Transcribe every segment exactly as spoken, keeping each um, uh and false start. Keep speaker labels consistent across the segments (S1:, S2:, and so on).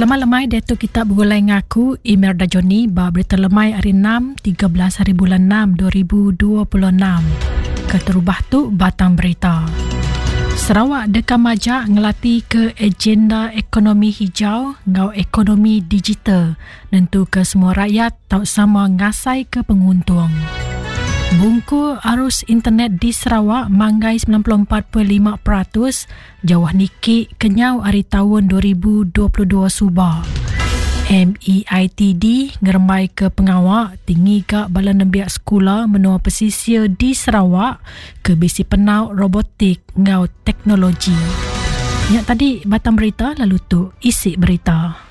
S1: Selamat lemai diatu kita begulai ngaku Imelda Johnny ba berita lemai hari enam tiga belas hari bulan enam dua ribu dua puluh enam. Keterubah tu batang berita. Sarawak deka majak ngelati ke agenda ekonomi hijau ngau ekonomi digital nentu ke semua rakyat tau sama ngasai ke penguntung. Bungku arus internet di Sarawak manggai sembilan puluh empat perpuluhan lima peratus jauh niki kenyau hari tahun dua ribu dua puluh dua subah. M E I T D ngerembai ke pengawak tinggi ke bala nembiak sekolah menua pesisir di Sarawak ke bisi penau robotik ngau teknologi. Nyak tadi batang berita lalu tu isi berita.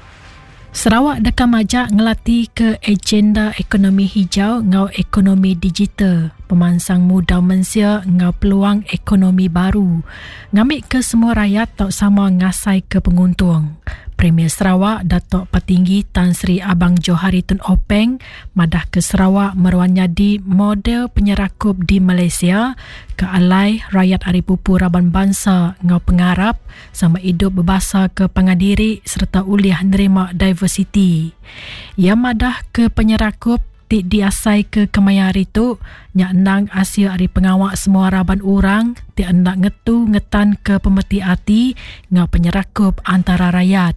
S1: Sarawak deka majak ngelati ke agenda ekonomi hijau ngau ekonomi digital, pemansang muda mensia ngau peluang ekonomi baru. Ngambil ke semua rakyat tak sama ngasai ke penguntung. Premier Sarawak Datuk Patinggi Tan Sri Abang Johari Tun Openg madah ke Sarawak meruan jadi model penyerakup di Malaysia ke alai rakyat ari pupu raban bangsa ngau pengarap sama hidup berbahasa ke pangadiri serta uliah nerima diversity. Ia madah ke penyerakup ti diasai ke kemaya hari tu nyak endang asil ari pengawak semua raban orang ti endak ngetu ngetan ke pemeti ati ngau penyerakup antara rakyat.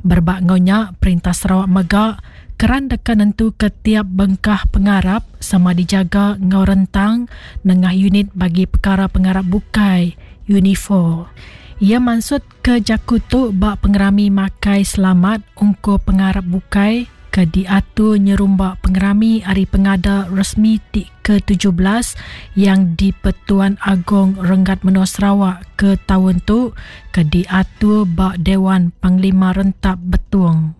S1: Berbak ngau nyak perintah Sarawak mega keran deka nentu ke tiap bengkah pengarap sama dijaga ngau rentang nengah unit bagi perkara pengarap bukai Unifor. Ia maksud ke jaku tu bak pengerami makai selamat ungko pengarap bukai ke diatur nyerumbak pengerami hari pengada resmi ti ke tujuh belas yang di Pertuan Agong Renggat Menua Sarawak ke tahun tu ke diatur bak Dewan Panglima Rentap Betung.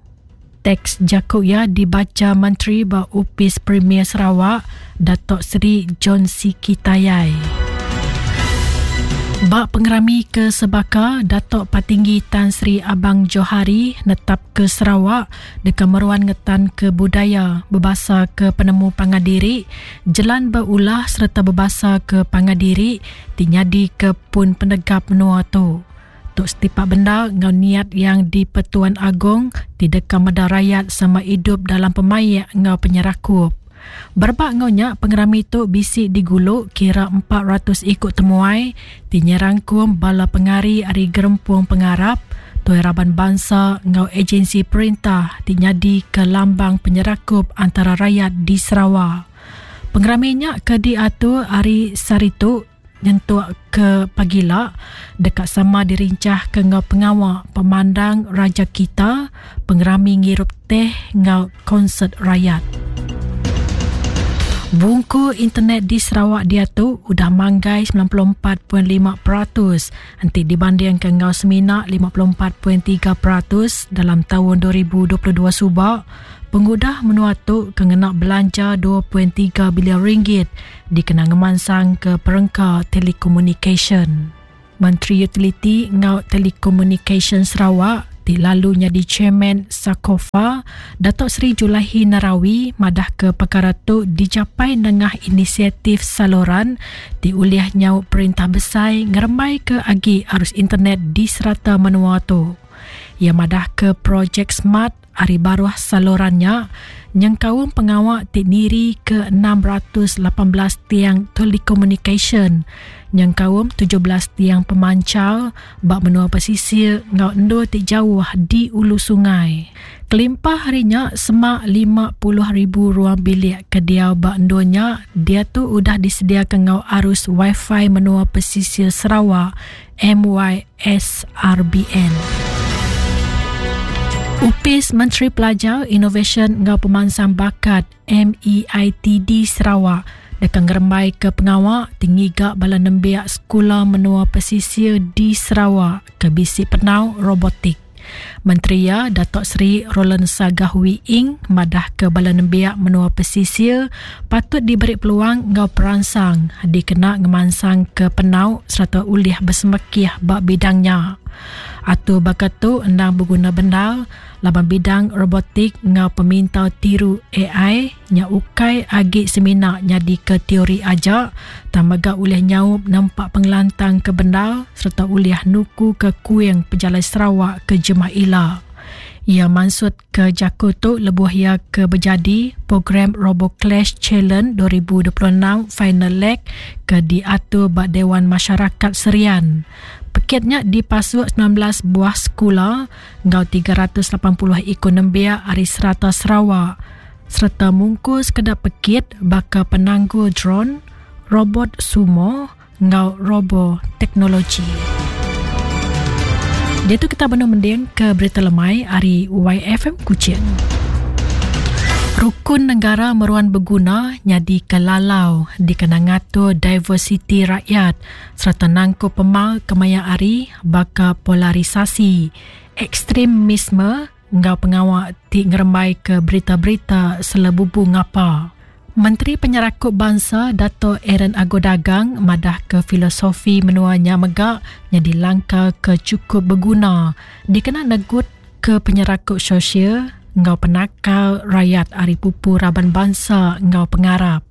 S1: Teks jakuk ia dibaca Menteri ba Upis Premier Sarawak Datuk Seri John Sikie Tayai. Bak pengerami ke Sebaka, Datuk Patinggi Tan Sri Abang Johari netap ke Sarawak deka meruan ngetan ke budaya, berbahasa ke penemu pangadiri, jalan berulah serta berbahasa ke pangadiri, tinyadi ke pun penegap menua tu. Tok setipak benda ngau niat yang di Pertuan Agong tidak meda rakyat sama hidup dalam pemayak ngau penyerakup. Berbak ngau nyak pengerami tu bisik diguluk kira empat ratus ikut temuai tinyerangkum bala pengari ari gerempung pengarap tuai raban bangsa ngau agensi perintah tinyadi ke lambang penyerakup antara rakyat di Sarawak. Pengerami nyak ke diatur ari saritu nyentuk ke pagila dekat sama dirincah ke ngau pengawak pemandang Raja Kita, pengerami ngirup teh ngau konsert rakyat. Bungku internet di Sarawak dia tu udah manggai sembilan puluh empat perpuluhan lima peratus enti dibandingkan ngau semina lima puluh empat perpuluhan tiga peratus dalam tahun dua ribu dua puluh dua subak. Pengudah menua tu kena belanja dua perpuluhan tiga bilion ringgit dikena ngemansang ke perengka telekomunikasi. Menteri Utiliti ngau Telekomunikasi Sarawak ti lalu jadi chairman Sakofa Datuk Seri Julaihi Narawi madah ke perkara tu dicapai nengah inisiatif saluran ti uliah nyau perintah besar ngerembai ke agi arus internet di serata menua tu. Ia madah ke projek smart ari baruh salurannya nyengkaum pengawak ti niri ke enam ratus lapan belas tiang telekomunikasi nyengkaum tujuh belas tiang pemancar bak menua pesisir ngau endur ti jauh di ulu sungai. Kelimpah harinya semak lima puluh ribu ruang bilik kediau bak endurnya dia tu udah disediakan ngau arus wifi menua pesisir Sarawak M Y S R B N. Upis Menteri Pelajar Inovasi ngau Pemansang Bakat M E I T D Sarawak deka ngerembai ke pengawak tinggi gak bala nembiak sekolah menua pesisir di Sarawak ke bisi penau robotik. Menteri ya Datuk Seri Roland Sagah Wee Ing madah ke bala nembiak menua pesisir patut diberi peluang ngau peransang dikena ngemansang ke penau serta ulih bersemekih bak bidangnya. Atur bakat tu endang berguna bendar laban bidang robotik ngau peminta tiru A I nya ukai agi semina nyadi ke teori aja tamaga ulih nyaup nampak pengelantang ke bendar serta ulih nuku ke kuing pejalai Sarawak ke jemah ila. Ia maksud ke jaku tu lebuh ia ke berjadi program RoboClash Challenge dua ribu dua puluh enam Final Leg ke diatur bak Dewan Masyarakat Serian. Peketnya dipasuk sembilan belas buah sekolah ngau tiga ratus lapan puluh ikon nembiak ari serata Sarawak serta mungkus kedap pekit baka penangguh drone, robot sumo ngau robo teknologi. Dia tu kita benar mending ke berita lemai ari Y F M Kuching. Rukun negara meruan berguna nyadi kelalau dikena ngatur diversiti rakyat serta nangku pemal kemaya ari baka polarisasi, ekstremisme ngau pengawak ti ngerembai ke berita-berita selebubu ngapa. Menteri Penyerakup Bangsa Dato' Aaron Ago Dagang madah ke filosofi menuanya megak jadi langkah ke cukup berguna dikena negut ke penyerakup sosial ngau penakal rakyat ari pupu raban bangsa ngau pengarap.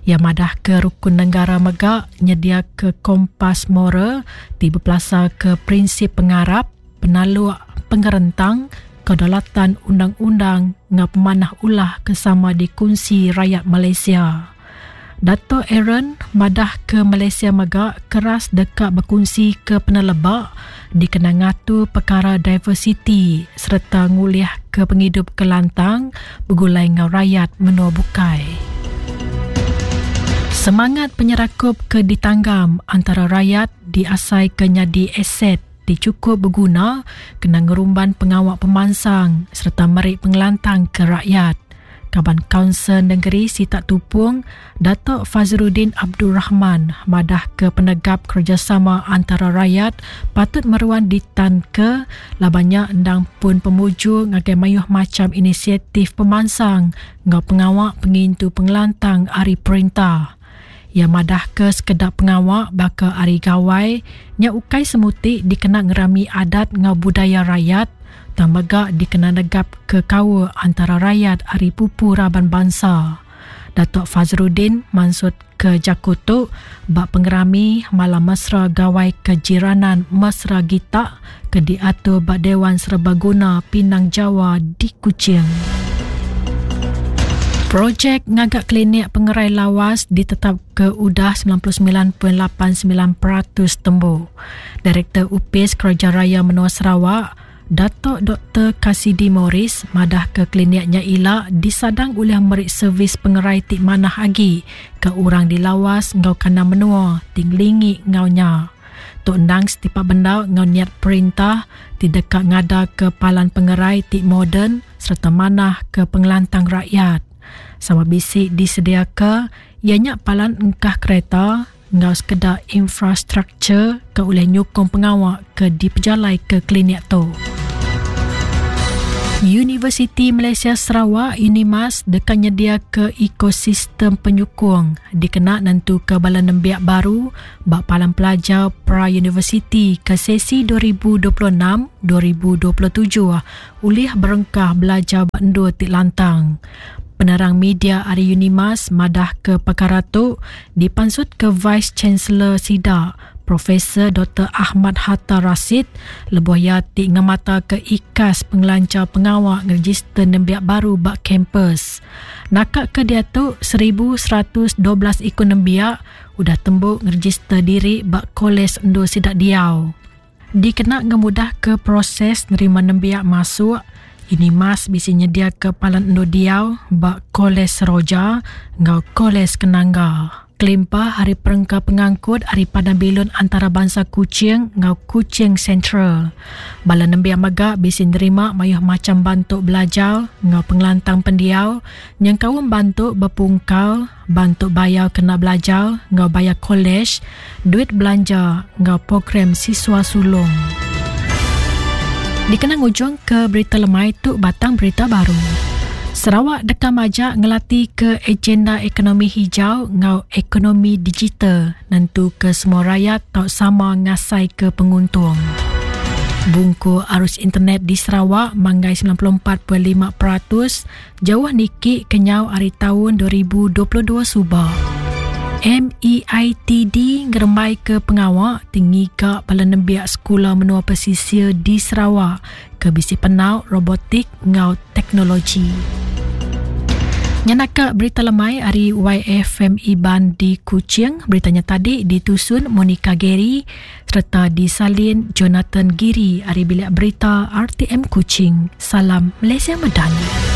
S1: Ia madah ke rukun negara megak nyedia ke kompas moral ti berpelasar ke prinsip pengarap, penaluk, pengerentang, kedaulatan undang-undang ngau pemanah ulah kesama dikunsi rakyat Malaysia. Dato' Aaron madah ke Malaysia megak keras dekat berkongsi ke penelebak dikena ngatur perkara diversiti serta nguliah ke penghidup kelantang bergulai ngau rakyat menua bukai. Semangat penyerakup ke ditanggam antara rakyat diasai ke nyadi aset dicukup berguna kena ngerumban pengawak pemansang serta merik pengelantang ke rakyat. Kaban Kaunsil Negeri Sitak Tupung, Datuk Fazruddin Abdul Rahman madah ke penegap kerjasama antara rakyat patut meruan ditan ke labannya endang pun pemuju ngagai mayuh macam inisiatif pemansang ngau pengawak pengintu pengelantang ari perintah. Ia madah ke sekedap pengawak baka ari gawai nya ukai semutik dikena ngerami adat ngau budaya rakyat dan megak dikena negap ke kawa antara rakyat ari pupu raban bangsa. Datuk Fazruddin maksud ke Jakutuk bak pengerami Malam Mesra Gawai Kejiranan Mesra Gitak ke diatur bak Dewan Serbaguna Pinang Jawa di Kuching. Projek ngagak klinik pengerai lawas ditetap ke udah sembilan puluh sembilan perpuluhan lapan sembilan peratus tembu. Direktur U P I S Kerja Raya Menua Sarawak, Datuk Doktor Kasidi Morris madah ke kliniknya ila disadang oleh merik servis pengerai tik manah agi ke orang di lawas ngau kana menua tinglingi ngaunya. Tok endang setipak benda ngau niat perintah tidak ngada ke palan pengerai tik moden serta manah ke pengelantang rakyat. Sama bisik disediaka ianya palan engkah kereta ngau sekedar infrastruktur ke oleh nyukung pengawak ke dipejalai ke klinik tu. Universiti Malaysia Sarawak Unimas dekat nyedia ke ekosistem penyukung dikena nentu ke bala nembiak baru bak palan pelajar pra-universiti ke sesi dua ribu dua puluh enam dua ribu dua puluh tujuh ulih berengkah belajar bak endur tik lantang. Penerang media ari Unimas madah ke perkara tu dipansut ke Vice Chancellor SIDA Profesor Doktor Ahmad Hatta Rasid lebuh ia ti ngemata ke ikas pengelancar pengawak ngeregister nembiak baru bak kampus. Nakak ke dia tu seribu seratus dua belas ikon nembiak udah tembuk ngeregister diri bak kolej endur sidak diau. Dikena ngemudah ke proses nerima nembiak masuk, Unimas bisi nyedia ke palan endur diau bak Kolej Seroja ngau Kolej Kenangga. Kelimpah hari perengka pengangkut hari Padang Bilun Antarabangsa Kuching ngau Kuching Central. Bala nembiak megak bisi nerima mayuh macam bantuk belajar ngau pengelantang pendiau nyengkaum bantuk berpungkal, bantuk bayar kena belajar ngau bayar kolej, duit belanja ngau program siswa sulung. Dikenang ujung ke berita lemai tu batang berita baru. Sarawak dekat majak ngelati ke agenda ekonomi hijau ngau ekonomi digital nentu ke semua rakyat tak sama ngasai ke penguntung. Bungku arus internet di Sarawak manggai sembilan puluh empat perpuluhan lima peratus jauh niki kenyau hari tahun dua ribu dua puluh dua subah. M E I T D ngerembai ke pengawa tinggi ke bala nembiak sekula menua pesisir di Sarawak ke bisi penau robotik ngau teknologi. Nyenaka berita lemai ari Y F M Iban di Kuching. Beritanya tadi ditusun Monica Gary serta disalin Jonathan Giri ari Bilik Berita R T M Kuching. Salam Malaysia Madani.